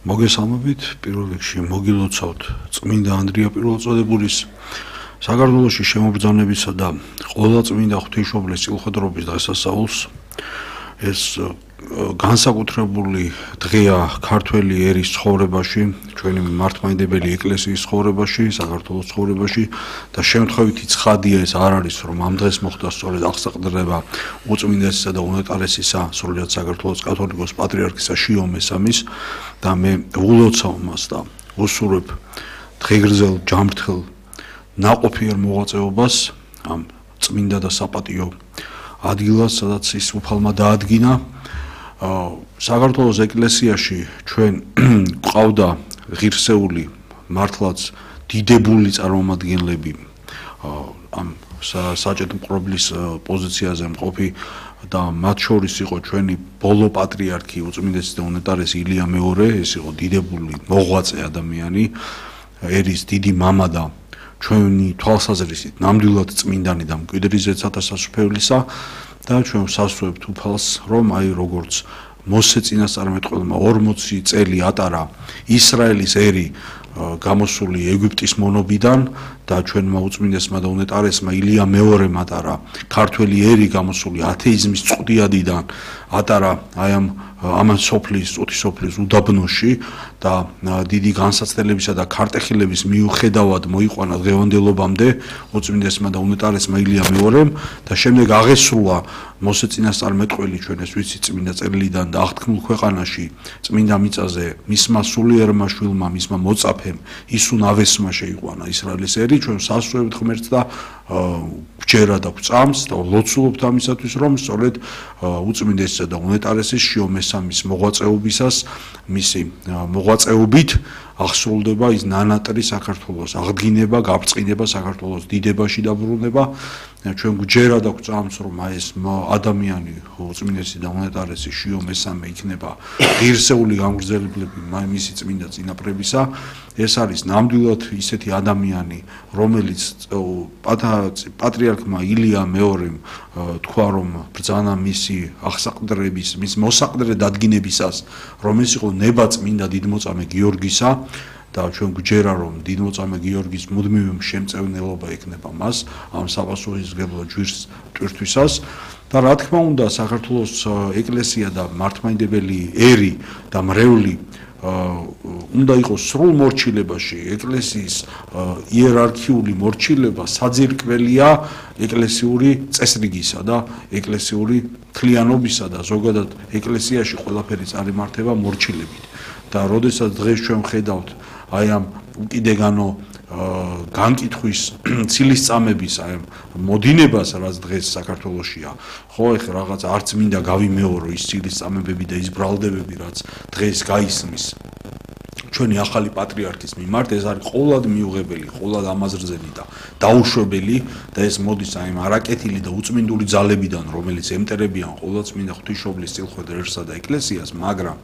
მოგესალმებით, პირველ რიგში მოგილოცავთ წმინდა ანდრია პირველწოდებულის საქართველოში შემობრძანებისა და ყველა წმინდა ღვთისმშობლის წილხვედრობის დღესასწაულს. ეს განსაკუთრებული დღეა ქართველი ერის ცხოვრებაში, ჩვენი მართლმადიდებელი ეკლესიის ცხოვრებაში, საქართველოს ცხოვრებაში და შემთხვევითი ცხადია ეს არ არის, რომ ამ დღეს მოხდა სწორედ აღსაყდრება უწმინდესისა და უნეტარესისა სრულიად საქართველოს კათოლიკოს პატრიარქისა შიო მესამის და მე ულოცავ მას და უსურვებ დღეგრძელ ჯანმრთელ ნაყოფიერ მოღვაწეობას ამ წმინდა და საპატიო ადგილას, სადაც ის უფალმა დაადგინა. საქართველოს ეკლესიაში ჩვენ გვყავდა ღირსეული მართლაც დიდებული წარმომადგენლები ამ საჭეտ მყრობლის პოზიციაზე მყოფი და მათ შორის იყო ჩვენი ბოლო პატრიარქი უწმინდესი და უნეტარესი ილია მეორე, ეს იყო დიდებული მოღვაწე ადამიანი, ერის დიდი მამა და ჩვენი თვალსაზრისით ნამდვილად წმინდანი და მკვიდრიზეცათა სასუფევლისა და ჩვენ ვსასწრებთ უფალს, რომ აი როგორც მოსე წინასწარმეტყველმა 40 წელი ატარა ისრაელის ერი გამოსული ეგვიპტის მონობიდან და ჩვენმა უწმინდესმა და უნეტარესმა ილია მეორემ ატარა ქართველი ერი გამოსული ათეიზმის წყვდიადიდან ატარა აი ამან სოფლის წუთისოფლის უდაბნოში და დიდი განსაცდელებისა და ქარტეხილების მიუხედავად მოიყვანა დღევანდელობამდე უწმინდესმა და უნეტარესმა ილია მეორემ და შემდეგ აღესრულა მოსე წინასწარმეტყველი ჩვენ ეს ვიცით წმინდა წერილიდან და აღთქმულ ქვეყანაში წმინდა მიწაზე მისმა სულიერმა შვილმა მისმა მოწაფემ ისუნ ავესმა შეიყვანა ისრაელის ერი ჩვენ სასწრებთ ღმერთს და გვჯერა და გვწამს და ლოცულობთ ამისათვის რომ სწორედ უწმინდესისა და უნეტარესის შიო მესამის მოღვაწეობისას მისი მოღვაწეობით აღსრულდება ის ნანატრი საქართველოს აღდგინება, გაბრწყინება საქართველოს დიდებაში დაბრუნება. ჩვენ გვჯერა და გვწამს რომ აი ეს ადამიანი უწმინდესი და უნეტარესი შიო მესამე იქნება ღირსეული გამგრძელებლები მისი წმინდა წინაპრებისა. ეს არის ნამდვილად ისეთი ადამიანი, რომელიც პატრიარქმა ილია მეორემ თქვა რომ ბრძანა მისი აღსაყდრების, მის მოსაყდრე დადგინებისას, რომ ეს იყო ნება წმინდა დიდმოწამე გიორგისა და ჩვენ გვჯერა რომ დიდმოწამე გიორგის მუდმივი შემწევნელობა ექნება მას ამ საპასუხისმგებლო ჯვირს ტვირთვისას და რა თქმა უნდა საქართველოს ეკლესია და მართლმადიდებელი ერი და მრევლი უნდა იყოს სრულ მორჩილებაში ეკლესიის იერარქიული მორჩილება საძირკველია ეკლესიური წესრიგისა და ეკლესიური თლიანობისა და ზოგადად ეკლესიაში ყველაფერი წარიმართება მორჩილებით და როდესაც დღეს ჩვენ ვხედავთ აი ამ უკიდეგანო განკითხვის ცილისწამების აი მოდინებას რაც დღეს საქართველოშია ხო ეხლა რაღაც არც მინდა გავიმეორო ის ცილისწამებები და ის ბრალდებები რაც დღეს გაისმის ჩვენი ახალი პატრიარქის მიმართ ეს არის ყოვლად მიუღებელი, ყოვლად ამაზრზელი და დაუშვებელი და ეს მოდის აი არაკეთილი და უწმინდული ძალებიდან რომელიც ემტერებიან ყოვლადწმინდა ღვთისმშობლის წილხვედრერსა და ეკლესიას, მაგრამ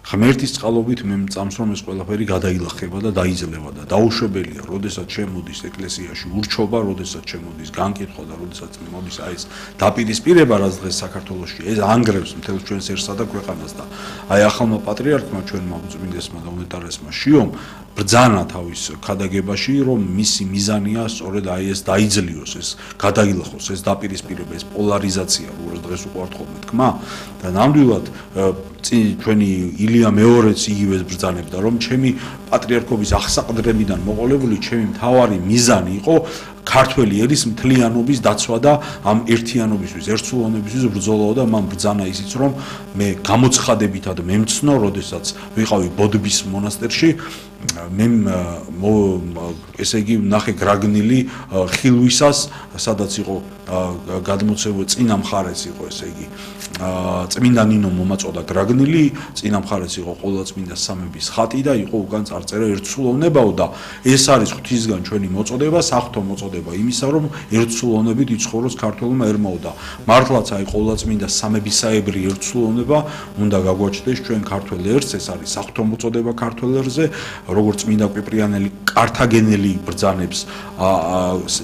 ღმერთის წყალობით მე მწამს რომ ეს ყველაფერი გადაილახება და დაიძლება და დაუშვებელია, როდესაც შემოდის ეკლესიაში ურჩობა, როდესაც შემოდის განკითხვა და როდესაც მოდის აი ეს დაპირისპირება, რაც დღეს საქართველოში ეს ანგრევს მთელს ჩვენსერსა და ქვეყანას და აი ახალმა პატრიარქმა ჩვენმა უწმინდესმა და უნეტარესმა შიომ ბრძანა თავის ქადაგებაში, რომ მისი მიზანია სწორედ აი ეს დაიძლიოს, ეს გადაილახოს, ეს დაპირისპირება, ეს პოლარიზაცია, როგორც დღეს უყვართ ხოლმე თქმა და ნამდვილად ჩვენი ილია მეორეც იგივეს ბრძანებდა, რომ ჩემი პატრიარქობის აღსაყდრებიდან მოყოლებული ჩემი მთავარი მიზანი იყო ქართველი ერის მთლიანობის დაცვა და ამ ერთიანობისთვის, ერთსულოვნებისთვის ბრძოლაო და მან ბრძანა ისიც, რომ მე გამოცხადებითად მემცნო, როდესაც ვიყავი ბოდბის მონასტერში, მე ესე იგი ნახე გრაგნილი ხილვისას, სადაც იყო გადმოცემული წინა მხარეს იყო ესე იგი წმინდა ნინო მომაწოდა გრაგნილი, წინა მხარეს იყო ყოვლადწმინდა სამების ხატი და იყო უკან წარწერა ერთსულოვნებაო და ეს არის ღვთისგან ჩვენი მოწოდება, საღვთო მოწოდება იმისა, რომ ერთსულოვნებით იცხოვროს ქართველმა ერმაო და მართლაც აი ყოვლადწმინდა სამებისაებრი ერთსულოვნება უნდა გაგვაჩნდეს ჩვენ ქართველ ერს, ეს არის საღვთო მოწოდება ქართველ ერზე, როგორც წმინდა კვიპრიანელი კართაგენელი ბრძანებს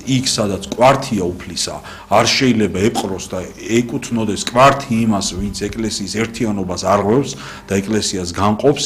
იქ სადაც კვართია უფლისა არ შეიძლება ეპყროს და ეკუთვნოდეს კვართი იმას, ვინც ეკლესიის ერთიანობას არღვევს და ეკლესიას განყოფს,